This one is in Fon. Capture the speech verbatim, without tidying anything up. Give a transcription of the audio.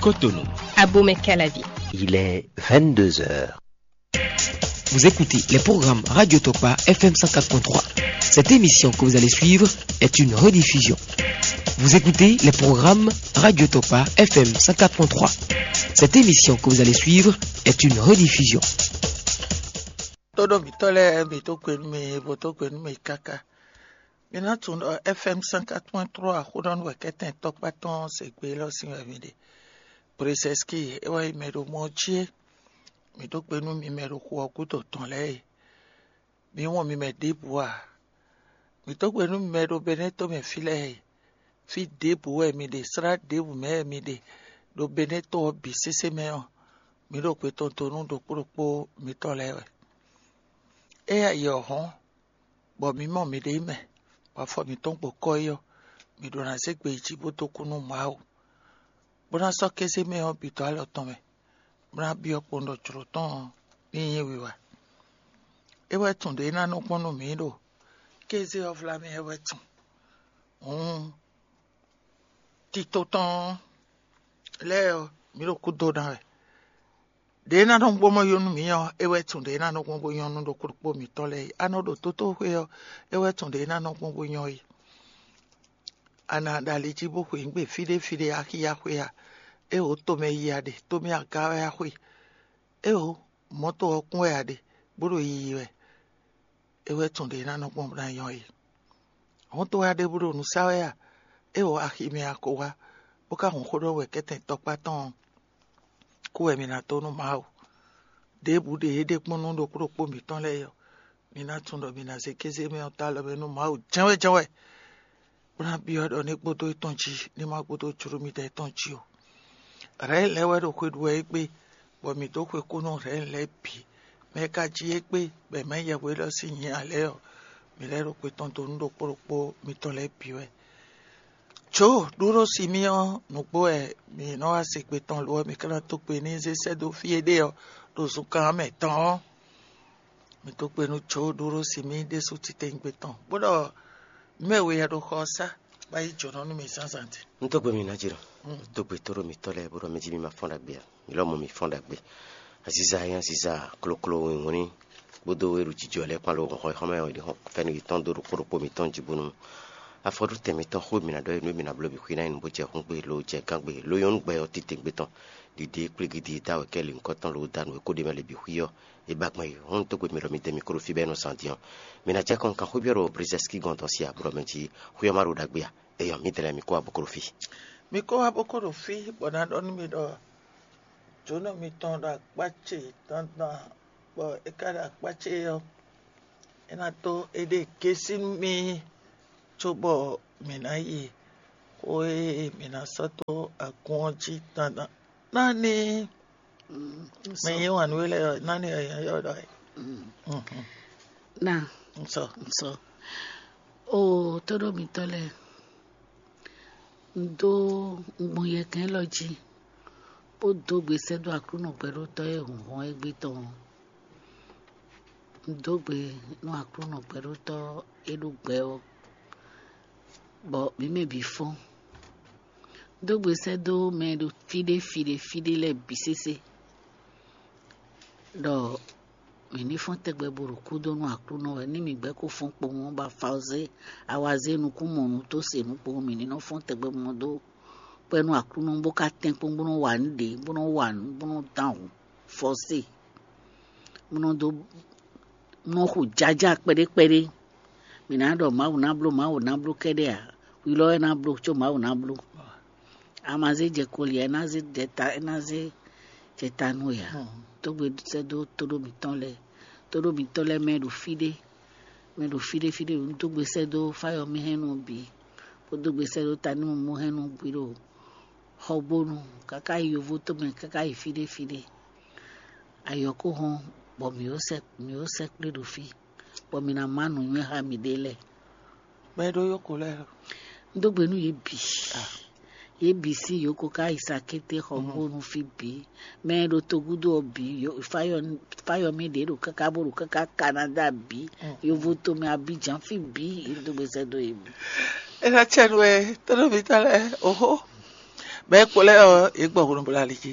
Cotonou. Abomey Calavi. Il est vingt-deux heures. Vous écoutez les programmes Radio Tokpa F M cent quatre point trois. Cette émission que vous allez suivre est une rediffusion. Vous écoutez les programmes Radio Tokpa F M cent quatre point trois. Cette émission que vous allez suivre est une rediffusion. Tóɖó mǐtɔn lɛ́ɛ, mǐ dó gbe nú mi, bó dó gbe nú mi káká. Mi ná tunwun ɖɔ F M cent quatre point trois Xúɖɔnú wɛ kɛ́tɛn tɔkpá tɔn se gbe élɔ́ sín wɛ mi ɖe. Brezɛ́ski é wɛ nyí mɛ ɖo mɔ ɔ́ jí é. Mǐ dó gbe nú mi mɛ ɖo xu ɔ́ gúdo tɔn lɛ́ɛ e. Mi wɔn mi mɛ ɖěbǔ a? Mǐ dó gbe nú mi mɛ ɖo Benɛ́to mɛ fí lɛ́ɛ e. Fí ɖěbǔ wɛ mi ɖe, slá ɖěbǔ mɛ wɛ mi ɖe ɖo Benɛ́to ɔ́ bǐ sésé mɛ ɔ́, mǐ ɖo gbe tɔn dó nú ɖokpó ɖokpó mitɔn lɛ́ɛ wɛ. Éyɛ́ yi ɔ́ hɔ́n, bɔ mǐ mɔ miɖée mɛ, bɔ afɔ mǐtɔn gbo kɔ́ yi ɔ́, mǐ ɖó ná zé gbe yi jí bó dó kú nú Mawu, bó ná sɔ́ kéze mɛ ɔ́ bǐ dó alɔ tɔn mɛ, bó ná byɔ́ kpowun ɖɔ jlǒ tɔn ɔ́ ní nyí wiwa. É wɛ tun ɖě ná nɔ gbɔn nú mǐ ɖo kéze ɔ́ vlá mɛ é wɛ tun. Hǔn tito tɔn lɛ́ɛ ɔ́, mǐ ɖo kúdo ná wɛ. Ɖě ná nɔ gbɔn mɔ yó nú mǐ ɔ́, é wɛ tun ɖě ná nɔ gbɔn bó nyɔ́ nú ɖokpó ɖokpó mǐtɔn lɛ́ɛ é. A nɔ ɖo tótóxwé ɔ́, é wɛ tun ɖě ná nɔ gbɔn bó nyɔ́ é. A nǎ ɖo ali jí bó xweyǐgbe fí ɖé fí ɖé axi yá xwé a? Éeǒ, tomɛ yi a ɖe, tomɛ aga wɛ a xwe. Éeǒ, mɔ̌to ɔ́ kún wɛ a ɖe, bó ɖo yiyi wɛ. É wɛ tun ɖě ná nɔ gbɔn bó ná nyɔ́ é. Hɔn to wá ɖěbǔ ɖo nǔ sa wɛ a? É wɔ axi mɛ a ko wá, bó ka hun xó ɖɔ wɛ kɛ́tɛn tɔkpá tɔn ɔ́, kú wɛ mi ná dó nú Mawu. Ɖěbǔ ɖe yě ɖe kpɔ́n nú ɖokpó ɖokpó mǐtɔn lɛ́ɛ ɔ́, mi ná tunwun ɖɔ mi ná zé kéze mɛ ɔ́ dó alɔ mɛ nú Mawu jɛ́nwɛ́ jɛ́nwɛ́, bó ná byɔ́ ɖɔ ní gbódó étɔn jí, ní má gbódó jló midɛɛ tɔn jí ó. Rɛ̌n lɛ́ɛ wɛ ɖo xwe ɖu wɛ égbé, bɔ mǐ dó xwe kú nú Rɛ̌n lɛ́ɛ bǐ. Mɛ e ka jí égbé, bɔ è mɛ yɛhwe élɔ́ sín nyǐ ǎ lɛ́ɛ ɔ́, mǐ lɛ́ ɖo xwe tɔn dó nú ɖokpó ɖokpó mitɔn lɛ́ɛ bǐ wɛ. Jǒ ɖúɖó si mì ɔ́, nǔgbó wɛ mǐ nɔ wá se gbe tɔn lo ɔ́, mǐ ka ná dó gbe ní zé sɛ́ dó fí e ɖe ɔ́, ɖo zunkan ɔ́ mɛ tɔn ɔ́, mǐ dó gbe nú Jǒ ɖúɖó si mì ɖésú titewungbe tɔn, bó ɖɔ nǔ e we wɛ ɖo xɔ ɔ́ sá, bó ná yí jǒnɔ nú mì zǎnzǎn din. Un dó gbe mi ná jǐ ɖɔ, un dó gbe tóɖó mitɔ́ lɛ́ɛ bó ɖɔ mɛ jí mi ma fɔ́n ɖagbe ǎ. Mi lɔ mɔ mi fɔ́n ɖagbe. Aziza e nyí aziza kloklo wínwlín kpódó e ɖo jijɔ lɛ́ɛ kpán ló hɔn xɔ́mɛ ɔ́, è nɔ fɛ́nú yětɔn dó ɖokpó ɖokpó mitɔn jí bónú afɔɖótɛn mitɔn xó e mi ná ɖɔ é nú e mi ná bló bǐ xwí ná nyí nǔ bó jɛ xúngbe ló jɛ gángbe ló nyɔ́ nú gbɛ ɔ́ titewungbe tɔn. Ɖiɖe kplígídí e dó awɛ kɛ́ lǐnkɔ́ tɔn ló dó anu e kó ɖ'é mɛ lě bǐ xwí ɔ́, é ba gbɔn yi. Hɔn dó gbe mi ɖɔ mi dɛ mi kó ɖo fí bɔ é nɔ zán din ɔ́, mi ná jɛ kɔn kan xwé byɔ́ ɖo Brezɛ́ski gɔ́n dɔn sí a, bó ɖɔ mɛ jí xwé ɔ́ má ɖo ɖagbe a? Éyɔ́, mǐdɛɛ lɛ́ɛ mi kó wá bó kó ɖo fí. Mi kó wá bó kó ɖo fí, bɔ ná ɖɔ nú mi ɖɔ jǒnɔ mitɔn ɖo akpá ce dandan, bɔ é ka ɖo akpá ce ɔ́, é ná dó éɖée gésí nú mì, cóbɔ mǐ ná yi xó e mǐ ná sɔ́ dó agun ɔ́ jí dandan. Nani? Mm, mɛ so- yí wǎn nú we lɛ́ɛ ɔ́, nani ɔ́ nyí ɔ́ ɖɔ é? Mm. Mhm. Na, Ŋsɔ. Ŋsɔ. O tóɖó mitɔ́ lɛ́ɛ, un dó un gbɔn yɛkɛn élɔ́ jí, bó dó gbe sɛ́ dó Aklúnɔ gbɛɖótɔ́ e hun hɔn égbé tɔn ɔ́. Un dó gbe nú Aklúnɔ gbɛɖótɔ́ e ɖó gbɛ ɔ́, bɔ mǐ mɛ bǐ fɔ́n. Un dó gbe sɛ́ dó mɛ e ɖo fí ɖé fí ɖé fí ɖé lɛ́ɛ bǐ sésé, ɖɔ mǐ ní fɔ́n tɛgbɛ bó ɖo kúdó nú Aklúnɔ wɛ. Ní mǐ gbɛ́ kó fɔ́n kpowun ɔ́, bɔ afawzé, awazé nukún mɔ nǔ tó se nǔ kpowun, mǐ ní nɔ fɔ́n tɛgbɛ mɔ dó kpɛ́ nú Aklúnɔ, bó ka tɛ́nkpɔ́n bó nɔ́ wa nǔ ɖě, bó nɔ́ wa nǔ, bó nɔ́ dán hǔn fɔ́sé, bó nɔ́ dó, bó nɔ́ xo jájá kpɛɖé kpɛɖé. Mǐ ná ɖɔ Mawu ná bló, Mawu ná bló kɛ́ɖɛ́ ǎ. Hwi lɔ wɛ ná bló, có Mawu ná bló. A ma zé jɛ koli ǎ, é ná zé jɛ ta, é ná zé jɛ ta nú we ǎ. Tógbe sɛ́ dó tóɖó mǐtɔn lɛ́ɛ, tóɖó mǐtɔn lɛ́ɛ mɛ ɖo fí ɖé, mɛ ɖo fí ɖé fí ɖé, un dó gbe sɛ́ dó fáyɔmɛhɛnnú bǐ, bó dó gbe sɛ́ dó tanímɔmɔhɛnnú bǐ ɖo xɔgbónu, káká yi yovo tomɛ, káká yi fí ɖé fí ɖé. Ayɔ kó hɔn, bɔ mǐ ó sɛ́ mǐ ó sɛ́ kplé ɖo fí, bɔ mǐ ná má nǔnywɛ́ xá mǐɖée lɛ́ɛ. Mɛ e ɖó yóko lɛ́ɛ ɔ́. Un dó gbe nú yě bǐ. Yě bǐ sín yǒko ká yi sakété xɔ kpó nú fí bǐ. Mɛ e ɖo togúdo ɔ́ bǐ, fáyɔmí ɖě ɖo káká bó ɖo káká Canada bǐ, yovo tomɛ Abidjan fí bǐ, yě dó gbe sɛ́ dó yě bǐ. É ná cɛ nú ɛ, tónúmítɔ́ lɛ́ɛ, oxó. Bɔ é kpo lɛ́ɛ ɔ́, yě gbɔ hwenu bó ɖo ali jí.